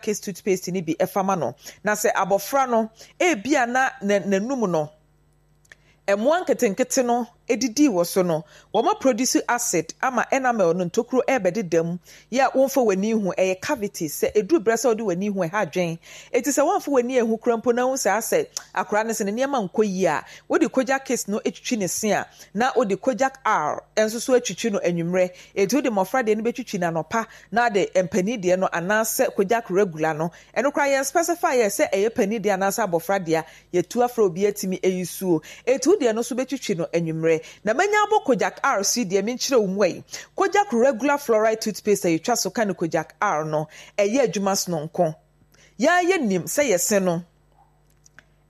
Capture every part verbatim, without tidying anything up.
Kids toothpaste no bi fa ma no. Na sɛ abɔfra no, ebia na n'anum no, mmoa nketenkete no didi wɔ so no, wɔma produce acid ama enamel no ntokuro ɛrebɛdeda mu. Yɛ a womfa w'ani hu, ɛyɛ cavities. Sɛ ɛduru berɛ sɛ wode w'ani hu, ɛha adwen. Enti sɛ woamfa w'ani anhu koraa mpo na wohu sɛ asɛ akwaraa no sɛ ne nneɛma nkɔ yie a, wode Kojak Kids no twitwi ne se a, na wode Kojak R nso so atwitwi no anwummerɛ. Enti wode mmɔfra deɛ no bɛtwitwi no anɔpa na ade mpanin deɛ no anaasɛ Kojak Regular no, ɛno koraa yɛn specify yɛ sɛ ɛyɛ panin deɛ anaasɛ abɔfra deɛ, yɛtu afrɛ obi atumi ayi suo. Enti wo deɛ no nso bɛtwitwi no anwummerɛ. Na manya abɔ Kojak R so yi deɛ, menkyerɛ wo mu ayi. Kojak Regular Fluoride Toothpaste a yɛtwa so ka no Kojak R no, ɛyɛ adwuma sononko. Yɛa yɛnim sɛ yɛse no,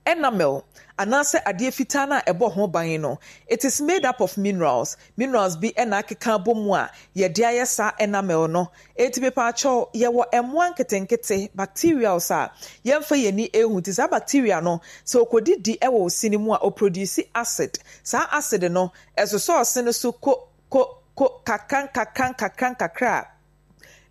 enamel anaasɛ adeɛ fitaa no a ɛbɔ ho ban no, it is made up of minerals. Minerals bi na akeka abɔ mu a yɛde ayɛ saa enamel no. Enti mepaakyɛw, yɛwɔ mmoa nketenkete, bacterials, a yɛmfa yɛn ani nhu. Nti saa bacteria no, sɛ ɔkɔdidi wɔ wo se no mu a, ɔproduce acid. Saa acid no, ɛsosɔ ɔse no so ko ko ko kakra nkakra nkakra nkakra a,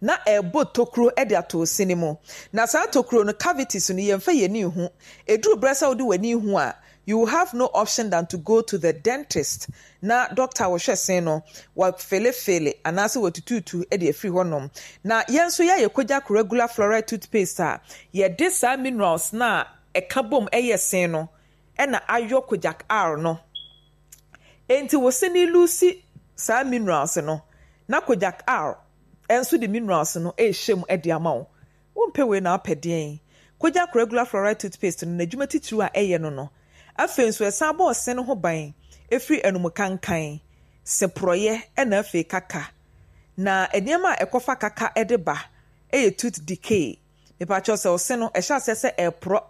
na ɛrebɔ tokuro de ato wo se no mu. Na saa tokuro no, cavities no, yɛmfa yɛn ani nhu. Ɛduru berɛ sɛ wode w'ani hu a, you will have no option than to go to the dentist na doctor a wɔhwɛ se no, wafelefele anaasɛ watutuutu de afiri hɔnom. Na yɛn nso yɛayɛ Kojak Regular Fluoride Toothpaste a yɛde saa minerals no a ɛka bom yɛ se no na ayɔ Kojak R no. Enti wo se no lose saa minerals no, na Kojak R nso de minerals no rehyɛ mu de ama wo. Wompɛ wei na wopɛ deɛn? Kojak Regular Fluoride Toothpaste no, n'adwuma titiriw a ɛyɛ no no, afei nso ɛsan bɔ ɔse no ho ban firi anum kankan, se porɔeɛ ɛna afei kaka. Na nneɛma a ɛkɔfa kaka de ba yɛ tooth decay. Mepakyɛw, sɛ ɔse no ɛhyɛ aseɛ sɛ ɛreporɔ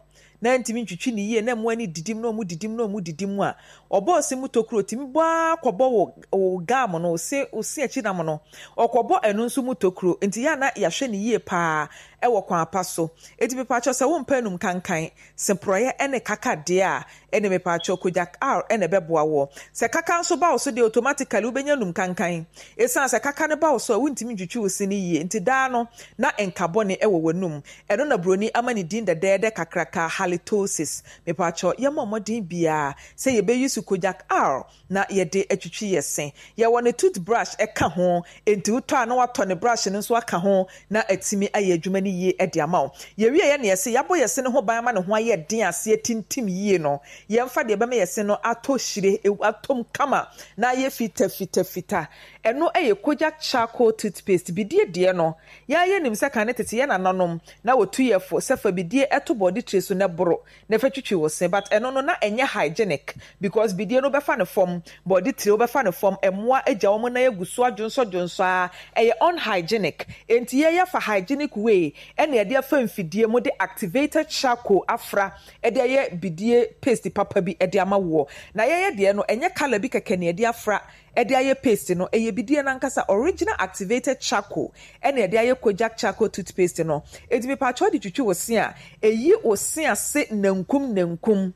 na ntumi ntwitwi ne yie na mmoa no didi mu na ɔmo didi mu na ɔmo didi mu a, ɔbɔ ɔse mu tokuro tumi bɔ ara kɔbɔ wo wo gum no, ɔse ɔse akyi nam no, ɔkɔbɔ ɛno nso mu tokuro. Nti yɛ a na yɛahwɛ ne yie paa ɛwɔ kwan pa so. Eti mepakyɛw, sɛ wompɛ anum kankan, se porɔeɛ ɛne kaka deɛ a, ɛne mepakyɛw, Kojak R ɛna ɛbɛboa wɔ. Sɛ kaka nso ba wo so deɛ, automatically wobɛnya num kankan, ɛsiane sɛ kaka no ba wo so a, wontumi ntwitwi wo se no yie. Nti daa no na nka bɔne ɛwɔ w'anum. Ɛno na buroni ama ne din dɛdɛɛdɛ kakraka, halitosis. Mepakyɛw, yɛmmɔ mmɔden biara sɛ yɛbɛyi so Kojak R na yɛde atwitwi yɛ se. Yɛwɔ ne toothbrush ɛka ho, enti wotɔ a, na watɔ ne brush no nso aka ho na atumi ayɛ adwuma no yie de ama wo. Yɛwie yɛ ne yɛse yɛabɔ yɛ se no ho ban ama ne ho ayɛ den aseɛ tintim yie no, yɛmfa deɛ ɛbɛma yɛ se no atɔ hyire, atɔm kama na ayɛ fita fita fita. Ɛno yɛ Kojak Charcoal Toothpaste. Bidie deɛ no, yɛayɛ nim sɛ kane tete yɛ nananom na wɔtu yɛ fo sɛ fa bidie ɛto bɔde tire so na boro na fa twitwi wo se, but ɛno no na ɛnyɛ hygienic because bidie no bɛfa ne fam, bɔde tire wobɛfa ne fam, mmoa agya wɔn nan agu so adwonsɔdwonsɔ a, ɛyɛ unhygienic. Enti yɛyɛ fa hygienic way ɛna yɛde afa mfidie mu de activated charcoal afra ɛde ayɛ bidie paste papa bi ɛde ama woɔ. Na yɛyɛ deɛ no, ɛnyɛ colour bi kɛkɛ na yɛde afra ɛde ayɛ paste no, ɛyɛ bidie nankasa, original activated charcoal ɛna yɛde ayɛ Kojak Charcoal Toothpaste no. Eti mipatwa de twitwi wo se a, ɛyi wo se ase nankum nankum,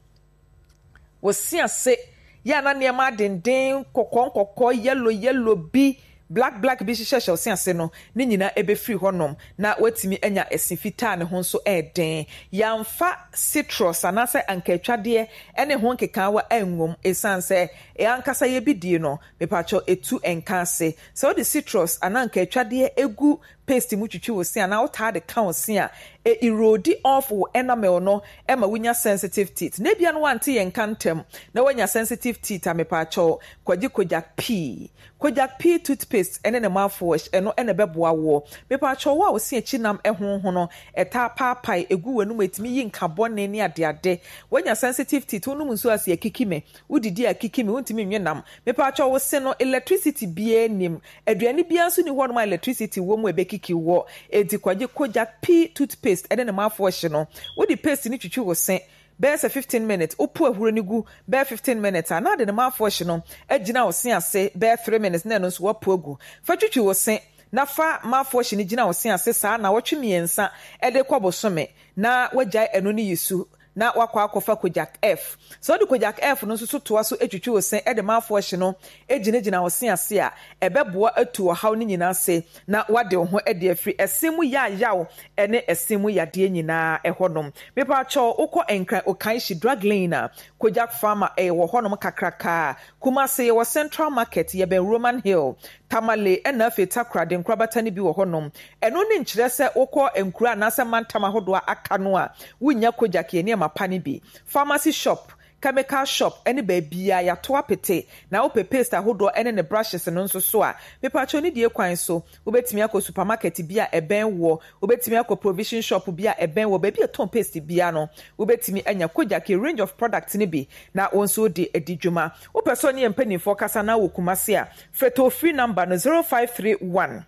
wo se ase yɛ ana nneɛma adenden kɔkɔɔ nkɔkɔɔ, yellow yellow bi, black black bi hyehyɛhyɛ wo se ase no, ne nyinaa ɛbɛfiri hɔnom na watumi anya ɛse fitaa ne ho nso ɛɛden. Yɛamfa citrus anaasɛ ankaatwadeɛ ɛne ho nkekaawa angom, ɛsiane sɛ ɛankasa yɛ bidie no, mepakyɛw, etu nka ase. Sɛ wode citrus anaa ankaatwadeɛ egu paste mu twitwi wo se anaa wotaa de ka wo se a, e erode off wo enamel no ɛma wonya sensitive teeth. Na ebia no wante yɛn nka ntɛm na woanya sensitive teeth a, mepakyɛw, kɔgye Kojak P, Kojak P Toothpaste ɛne ne mouthwash. Ɛno ɛna ɛbɛboa woɔ. Mepakyɛw, wo a wo se akyi nam ɛho ho no ɛtaa paapae egu w'anum, etumi yi nka bɔne ne adeade, woanya sensitive teeth, wonom nsuo ase akiki me, wodidi akiki me, wontumi nwe nam, mepakyɛw, wo se no electricity biara nim, aduane biara nso ni hɔnom a electricity wɔ mu a ɛbɛkiki wɔ. Enti kɔgye Kojak P Toothpaste ɛne ne mouthwash no. Wode paste no twitwi wo se bɛyɛ sɛ fifteen minutes, wopo ahuro no gu bɛyɛ fifteen minutes a, na ade ne mouthwash no agyina wo se ase bɛyɛ three minutes na ɛno nso woapo agu. Fa twitwi wo se na fa mouthwash no gyina wo se ase saa na wɔtwe mmiɛnsa ɛde kɔ bosome na wagyae ɛno no yi su. na wakɔ akɔfa Kojak F. Sɛ wode Kojak F no nso so toa so twitwi wo se de mouthwash no gyinagyina wo se ase a, ɛbɛboa atu ɔhaw no nyinaa ase na woade wo ho de afiri ɛse mu yaayaw ne ɛse mu yadeɛ nyinaa hɔnom. Mepaakyɛw, wokɔ Nkran Okaishie Drug Lane a, Kojak Pharma wɔ hɔnom kakraka. Kumase yɛwɔ Central Market, yɛbɛn Roman Hill, Tamale ɛna afei Takoradi nkorabata no bi wɔ hɔnom. Ɛno ne nkyerɛ sɛ wokɔ nkuro anaasɛ mantam ahodoɔ a aka no a, wonnya Kojak yɛ nneɛma pa no bi. Pharmacy shop, chemical shop ne baabiara yɛato apete. Na wopɛ paste ahodoɔ ne ne brushes no nso so a, mepaakyɛw ne die kwan so, wobɛtumi akɔ supermarket bi a ɛbɛn woɔ, wobɛtumi akɔ provision shop bi a ɛbɛn woɔ, baabi a ɛtɔn paste biara no, wobɛtumi anya Kojak range of products no bi na wo nso de adi dwuma. Wopɛ sɛ ɔne yɛn mpanimfoɔ kasa na wɔ Kumase a, frɛ toll free number no zero five three one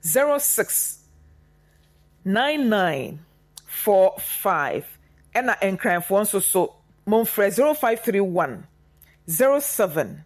zero six nine nine four five, ɛna Nkranfoɔ nso so momfrɛ zero five three one zero seven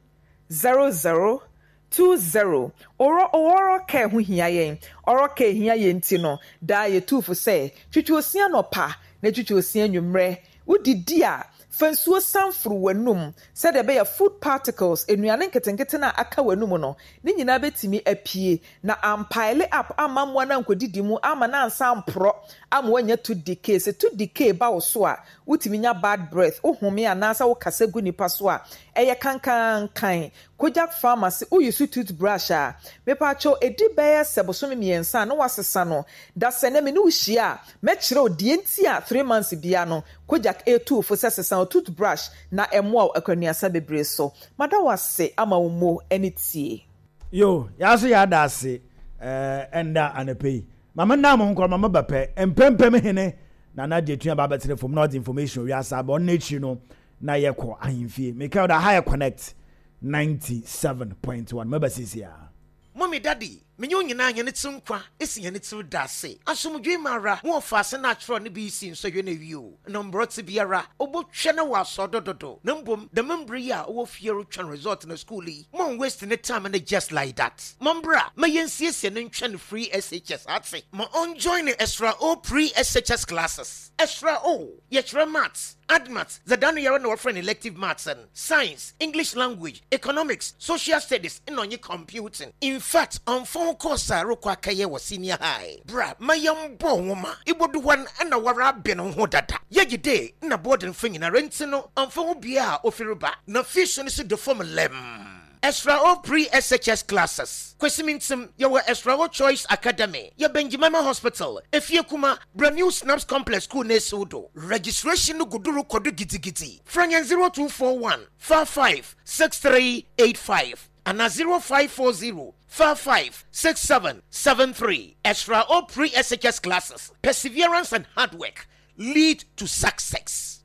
zero zero two zero. Ɔrɔ oral care ho hia yɛn. Oral care hia yɛn ti no daa yɛtuufo sɛ twitwi osia nɔpa na twitwi osia nwummerɛ. Wodidi a, fa nsuo sanforo w'anum sɛdeɛ ɛbɛyɛ food particles, nnuane nketenkete no a aka w'anum no ne nyinaa bɛtumi apue na ampile up ama mmoa no ankɔdidi mu ama no ansa mporɔ ama woanya tooth decay. Sɛ tooth decay ba wo so a, wotumi nya bad breath, wohome anaasɛ wokasa gu nipa so a, ɛyɛ kankankan. Kojak Pharmacy, woyi so toothbrush a, mepaakyɛw, ɛdi bɛyɛ sɛ bosome mmiɛnsa a na wasesa no. Da sɛ nɛ me ne wo hyia a, mɛkyerɛ wo deɛ nti a three months bia no Kojak ɛretu fo sɛ sesa wo toothbrush na ɛmmoa wo akwanuasa bebree so. Mada wo ase ama wo mo ne tie. Yo, yɛaso yɛada ase ɛɛ ɛnda anɔpɛ yi. Mama nna mo nkɔ mama ba pɛ mpɛmpɛm hene na na gye tua ba bɛtene fam na ɔde information wiase aba. Ɔno n'akyiri no na yɛkɔ ahemfie. Meka ɔda ha yɛ Connect ninety-seven point one mɛba sisi a. Mummy, Daddy, menye wo nyinaa hɛn tsir nkwa esi hɛn tsir da ase. Asomdwee mu ara mo wɔfa ase na akyerɛw ne B E C nsɔhwɛ no awie o. Na mbrɛ biara obotwa na wɔ asɔ do dodo. Na mbom dɛm mber yi a ɔwɔ fie rotwɛn result na school yi, mon waste ne time no just like that. Mombra ma yɛnsiesie ne ntwɛn free S H S ate. Ma ɔnjoin ne Extra O pre S H S classes. Extra O, yɛkyerɛ maths, add maths, dza no yɛrɛ na wɔfrɛ no elective maths and science, English language, economics, social studies, ɛna ɔnye computing. In fact, ɔmfa ho course a rekɔ akɛyɛ wɔ senior high. Bra, ma yɛmbɔ nwoma. Ibodu hɔ no ɛna wara abɛn wo ho dada. Yɛgye de na boarding fa nyinara nti no, ɔmfa ho bia a ofiri ba. Na fees no so de fam lɛm. Extra O pre S H S classes. Kwesimintim, yɛwɔ Extra O Choice Academy. Yɛ Benjimama Hospital. Efie Kuma, Brand New Snaps Complex School ne Sudo. Registration no guduru kodu gidigidi. Franyan zero two four one five five six three eight five and zero five four zero five five six seven seven three. Extra O pre S H S classes. Perseverance and hard work lead to success.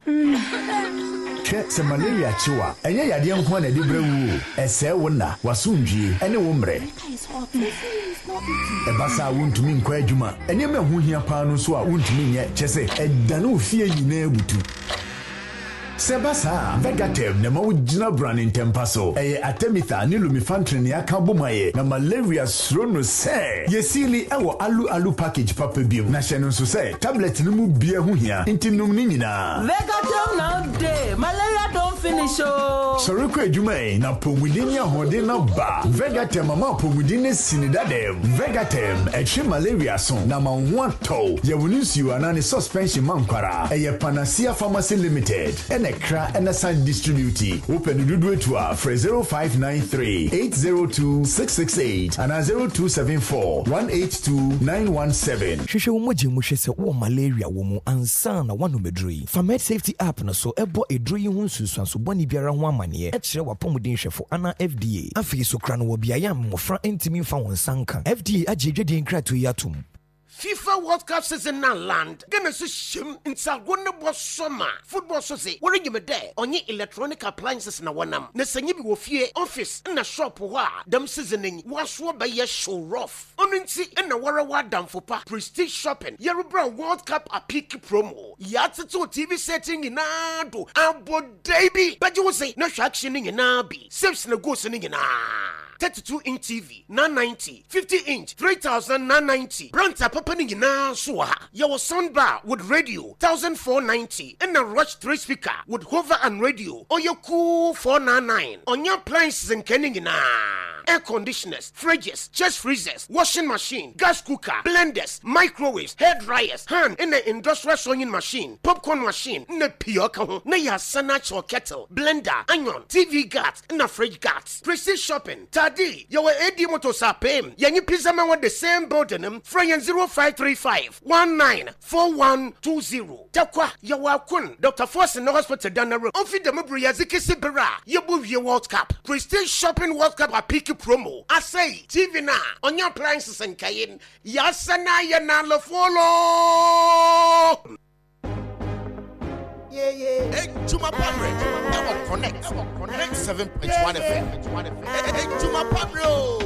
Hwɛ, sɛ malaria kyew a, ɛnyɛ yadeɛ nko a na ɛde brɛ wo o. Ɛsɛe wo nna, w'asomdwie ɛne wo mmerɛ. Ɛba saa a, wontumi nkɔ adwuma. Nneɛma ɛho hia paa no nso a wontumi nyɛ, kyɛ sɛ ɛdane wo fie nyinaa butu. Sɛ ɛba saa a, Vegatem na ɛma wogyina brane ntɛmpa so. Ɛyɛ artemether ne lumefantrine ne aka bom ayɛ na malaria suro no sɛ yɛsiili ɛwɔ alu alu package papa bi mu. Na hyɛ no nso sɛ tablet no mu bia ho hia nti nom ne nyinaa. Vegatem now dey malaria don finish ooo. Sɔre kɔ adwuma yi na apɔmuden ne ahoɔden no ba. Vegatem ama apɔmuden no si ne dadam. Vegatem ɛtwe malaria so na ma wo ho atɔw. Yɛwɔ ne nsuo anaa ne suspension ma nkwara. Ɛyɛ Panacea Pharmacy Limited ɛna kra ɛna san distribute. Wopɛ no dodoɔ etu a, frɛ zero five nine three eight zero two six six eight anaa zero two seven four one eight two nine one seven. Hwehwɛ wo mogya mu hwɛ sɛ wowɔ malaria wɔ mu ansa na woanom aduro yi. Fa Med Safety app no so ɛbɔ aduro yi ho nsunsuanso bɔne biara ho amanneɛ ɛkyerɛ w'apɔmuden hwɛfo anaa F D A. Afei so kora no wɔ beaeɛ a mmɔfra ntumi mfa wɔn nsa nka. F D A agye adwadie nkratoɔ yi atom. FIFA World Cup season na land Ghana so hyɛm nsago ne bɔ sɔma football so se wɔrenyim dɛ ɔnye electronic appliances na wɔnam na sɛ nye bi wɔ fie, office na shop hɔ a, dɛm season yi wɔasoɔ bɛyɛ show rough. Ɔno nti ɛna wɔrɛ wɔ adamfo pa Prestige Shopping yɛrebrɛ World Cup apeak promo. Yɛatetew T V set nyinaa do abɔ day bi bɛgye wo se na hwɛ action no nyinaa bi, saves na goals no nyinaa. thirty-two inch T V nine ninety, fifty inch three thousand nine ninety. Brand apapa no nyinaa nso wɔ ha. Yɛwɔ sound bar with radio fourteen ninety, ɛna Rush three speaker with hover and radio ɔyɛ cool four ninety-nine. Ɔnyɛ appliances nkɛ no nyinaa, air conditioners, fridges, chest freezers, washing machine, gas cooker, blenders, microwaves, hair dryers, hand ɛna industrial sewing machine, popcorn machine na pii ɔka ho. Na yɛasa no akyɛw kettle, blender, iron, T V guards na fridge guards. Prestige Shopping Tadi, yɛwɔ A D Motors apem yɛnye Pizza Man wɔ the same building m. Frɛ yɛn zero five three five one nine four one two zero. Takwa, yɛwɔ Akon Doctor Forson no hospital dana road. Ɔmfi dɛm bere yɛdze kesi bere a yɛbɔ wie World Cup. Prestige Shopping World Cup apeak promo asɛe T V no a ɔnyɛ appliances nkae yɛasɛ no ayɛ nalofolo. Ejuma Pamre, ɛwɔ Connect ninety-seven point one F M. Ejuma Pamre o.